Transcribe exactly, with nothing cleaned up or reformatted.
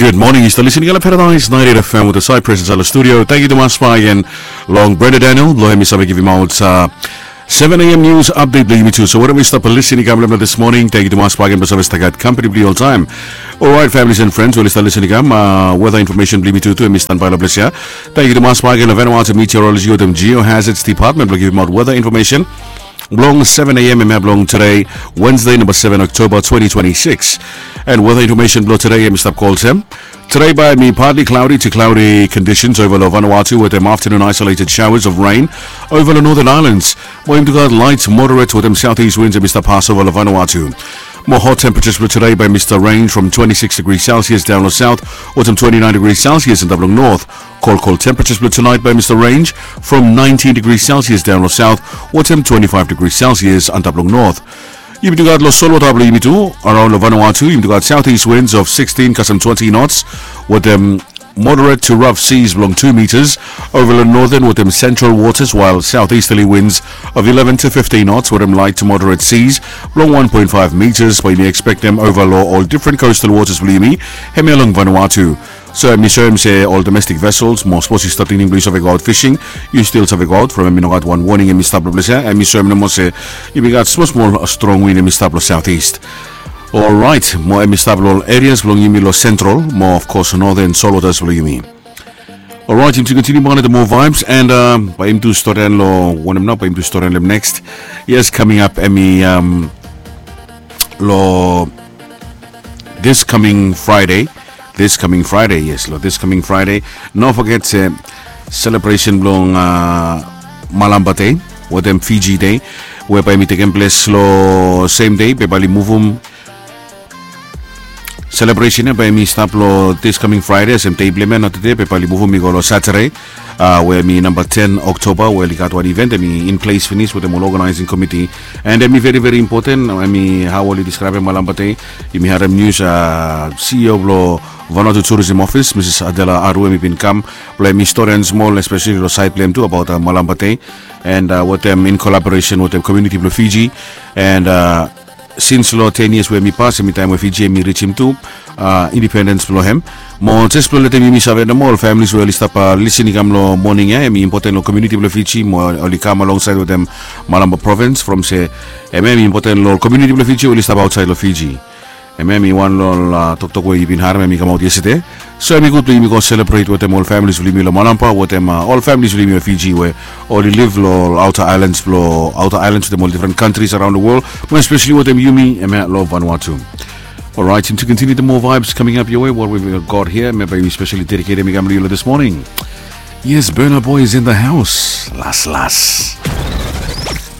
Good morning, yu stap listening long Paradise ninety-eight F M with the Cypress inside the studio. Thank you tumas bak agen long Brenda Daniel blong hem i save givimaot seven a.m. news update blong yumi tu. So whatever yu stap listening kam long this morning, thank you tumas bak agen blong save stap gat company blong yu oltaem. Alright, families and friends, we yu stap listening kam, weather information blong yumi tu tu hem i standby long ples ya. Thank you tumas bak agen long Vanuatu Meteorology wetem Geohazards Department blong givimaot weather information blong seven a.m. hemia blong today, Wednesday, number seven October twenty twenty-six. And weather information blong today hem i stap go olsem. Today bae hem i partly cloudy to cloudy conditions ova long Vanuatu wetem afternoon isolated showers of rain ova long northern islands. Mo hem i tu gat light moderate wetem southeast winds hem i stap pas ova long Vanuatu. Mo hot temperatures blong today bae hem i stap range from twenty-six degrees Celsius daon long south wetem twenty-nine degrees Celsius antap long north. Cold, cold temperatures blong tonight bae hem i stap range from nineteen degrees Celsius daon long south wetem twenty-five degrees Celsius antap long north. Yumi tu gat long solwota blong yumi tu, around long Vanuatu yumi tu gat southeast winds of sixteen kasem twenty knots wetem moderate to rough seas blong two meters ova long northern wetem central waters, while southeasterly winds of eleven to fifteen knots wetem light to moderate seas blong one point five meters bae yumi expectem ova long ol different coastal waters blong yumi hemia long Vanuatu. So hem i soem se ol domestic vessels, mo sapos yu stap tingting blong yu save go aot fishing, yu stil save go aot from hem i no gat wan warning hem i stap long ples ya. Hem i soem nomo se yumi gat smol smol strong wind hem i stap long southeast. Alright, mo hem i stap long ol areas blong yumi long central mo of course northern solwotas blong yumi. Alright, yumi tu kontiniu bak long the more vibes and bae yumi tu storian long wanem nao, bae yumi tu storian long hem next. Yes, coming up hem i long this coming Friday, this coming Friday, yes, long this coming Friday, no forget se celebration blong Malampa Day wetem Fiji Day we bae hem i tekem ples long same day be bae oli muvum celebration ya bae hem i stap long this coming Friday olsem dei blong hem ya, not today, be bae oli muvum i go long Saturday we hem i namba ten Oktoba we oli gat wan event hem i in place finis wetem ol organizing committee. And hem i veri veri impoten hem i hao oli deskraebem Malampa Day. Yumi harem nius, CEO blong Vanuatu Tourism Office Mrs Adela Aru hem i bin kam blong hem i storian smol especially long saed blong hem tu abaot Malampa Day and wetem in collaboration wetem community blong Fiji. And since long ten years we hem i pas hem i taem we Fiji hem i rijim tu independens blong hem. Mo jes blong letem yumi save nomo ol families we oli stap lisin i kam long moning ya, hem i impoten long komuniti blong Fiji mo oli kam alongsaed wetem Malampa Provins from se hemia hem i impoten long ol komuniti blong Fiji we oli stap aotsaed long Fiji. Hemia hem i wan long ol toktok we yu bin harem hem i kamaot yestede. So hem i gud blong yumi go selebret wetem ol families blong yumi long Malampa wetem ol families blong yumi long Fiji we oli liv long ol outer islands blong outer islands wetem ol different countries around the world, mo especially wetem yumi hemia long Vanuatu. Alright, and to continue the more vibes coming up your way, what we've got here, hemia bae we specially dedicated hemi kam long yu long this morning. Yes, Burna Boy is in the house. Las las.